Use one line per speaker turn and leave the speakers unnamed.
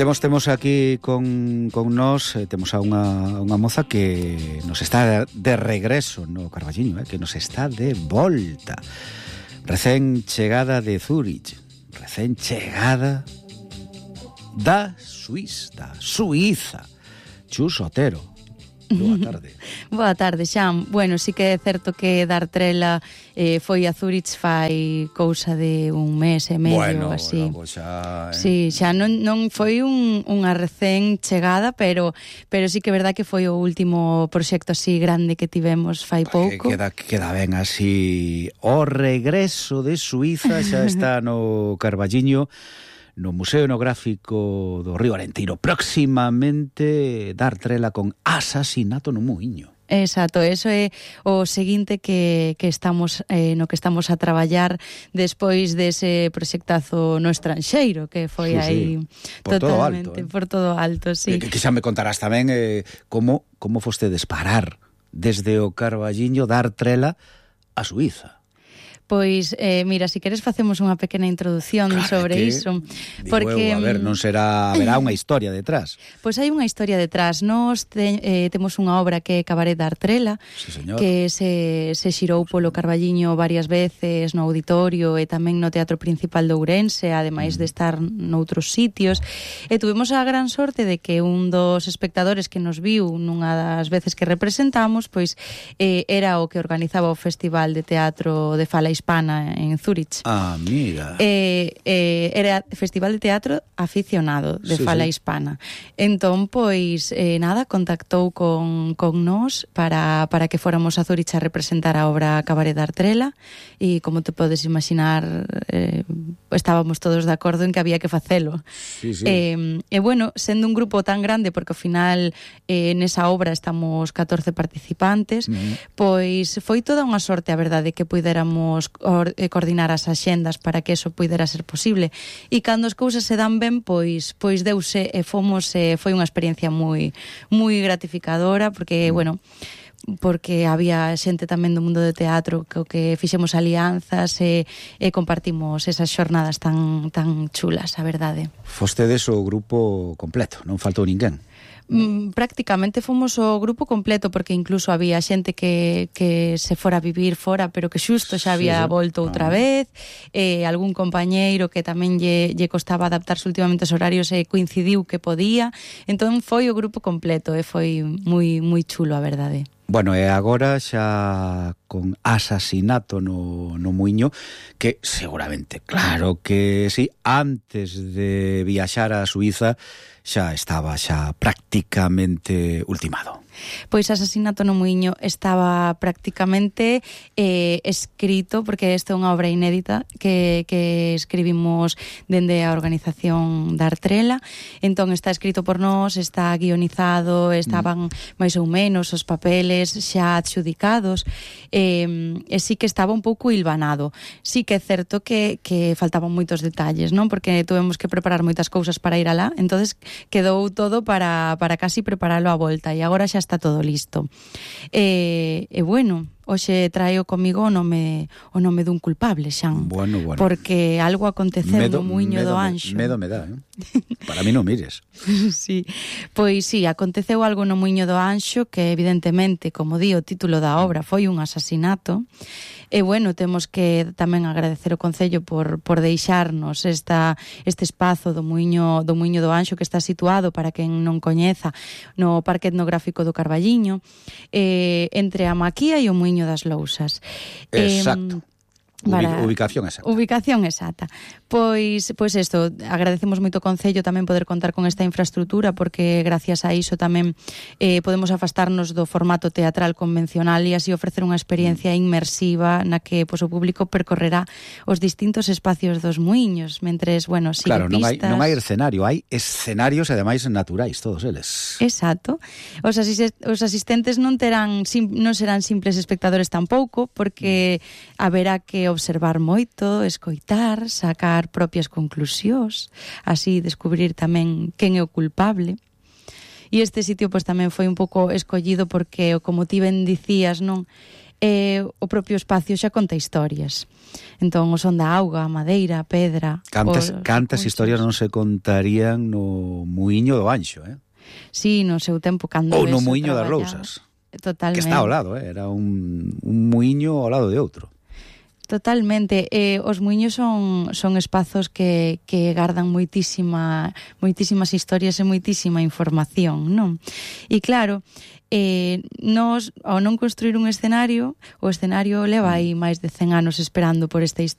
Temos aquí con nós, temos a unha moza que nos está de regreso no Carballiño, que nos está de volta. Recén chegada de Zúrich, recén chegada da Suíza. Chus Otero. Boa tarde.
Boa tarde, Xan. Bueno, sí que é certo que Dartrela foi a Zúrich fai cousa de un mes e medio, así.
Bueno, xa...
Sí, xa non foi unha recén chegada, pero sí que é verdad que foi o último proxecto así grande que tivemos fai pouco.
Queda ben así. O regreso de Suíza xa está no Carballiño, no Museo Etnográfico do Río Arentino. Próximamente Dartrela con Asasinato no Muiño.
Exacto, eso é o seguinte que estamos no que estamos a traballar despois dese proxectazo no estranxeiro, que foi aí
por
totalmente
todo alto,
por todo alto, sí.
Que xa me contarás tamén como fostedes parar desde o Carballiño Dartrela a Suíza.
Pois, mira, se queres facemos unha pequena introdución sobre iso.
Porque, a ver, non haberá unha historia detrás.
Pois hai unha historia detrás. Nós temos unha obra que é Cabaret Dartrela,
sí,
que se xirou polo Carballiño varias veces no auditorio e tamén no Teatro Principal de Ourense, ademais de estar noutros sitios. E tuvemos a gran sorte de que un dos espectadores que nos viu nunha das veces que representamos, pois era o que organizaba o Festival de Teatro de Fala Hispana en Zúrich.
Ah, mira.
Era Festival de Teatro aficionado de Fala Hispana. Entón, pois, nada, contactou con nós para que fóramos a Zúrich a representar a obra Cabaret Dartrela e, como te podes imaginar, estábamos todos de acordo en que había que facelo.
Sí.
E, bueno, sendo un grupo tan grande, porque ao final nesa obra estamos 14 participantes, pois foi toda unha sorte, a verdade, que puidéramos coordinar as axendas para que eso puidera ser posible. E cando as cousas se dan ben, pois deuse e fomos, foi unha experiencia moi gratificadora, porque, bueno, porque había xente tamén do mundo do teatro que fixemos alianzas e compartimos esas xornadas tan chulas, a verdade.
Fostedes o grupo completo, non faltou ninguén.
Prácticamente fomos o grupo completo, porque incluso había xente que se fora a vivir fora, pero que xusto xa había volto outra vez, algún compañeiro que tamén lle costaba adaptarse últimamente aos horarios e coincidiu que podía. Entón foi o grupo completo e foi moi chulo, a verdade.
Bueno, e agora xa con Asasinato no Muiño, que seguramente, claro que sí, antes de viaxar a Suíza xa estaba prácticamente ultimado.
Pois Asasinato no Muiño estaba prácticamente escrito, porque esta é unha obra inédita que escribimos dende a organización Dartrela. Entón está escrito por nós, está guionizado, estaban máis ou menos os papeles xa adxudicados, e sí que estaba un pouco hilvanado. Sí que é certo que faltaban moitos detalles, non? Porque tuvemos que preparar moitas cousas para ir alá, entonces quedou todo para casi preparalo a volta, e agora xa está todo listo. E bueno, hoxe traio comigo o nome dun culpable, Xan.
Bueno.
Porque algo aconteceu no Muiño do Anxo.
Medo me dá, Para mí non mires.
Sí, pois sí, aconteceu algo no Muiño do Anxo que evidentemente, como di o título da obra, foi un asasinato. E bueno, temos que tamén agradecer o Concello por deixarnos este espazo do Muiño do Anxo, que está situado, para quen non coñeza, no Parque Etnográfico do Carballiño, entre a Maquía e o Muiño das Lousas.
Exacto. Ubicación exacta. Pois isto, agradecemos moito ao Concello tamén poder contar con esta infraestrutura, porque gracias a iso tamén podemos afastarnos do formato teatral convencional e así ofrecer unha experiencia inmersiva na que o público percorrerá os distintos espacios dos muiños, mentres, bueno, sigue pistas. Claro, non hai escenario, hai escenarios ademais naturais, todos eles.
Exacto. Os asistentes non serán simples espectadores tampouco, porque haberá que observar moito, escoitar, sacar propias conclusións, así descubrir tamén quen é o culpable. E este sitio pois tamén foi un pouco escollido porque, como ti ben dicías, non,
o propio espacio xa conta historias. Entón, o son da auga, a madeira, a pedra...
Cantas historias non se contarían no muiño do Anxo,
Sí, no seu tempo, cando
ou no muiño das Rousas.
Totalmente.
Que está ao lado, era un muiño ao lado de outro.
Totalmente. Os muiños son espazos que gardan moitísimas historias e moitísima información, non? E claro, nos, ao non construir un escenario, o escenario leva aí máis de 100 anos esperando por esta historia.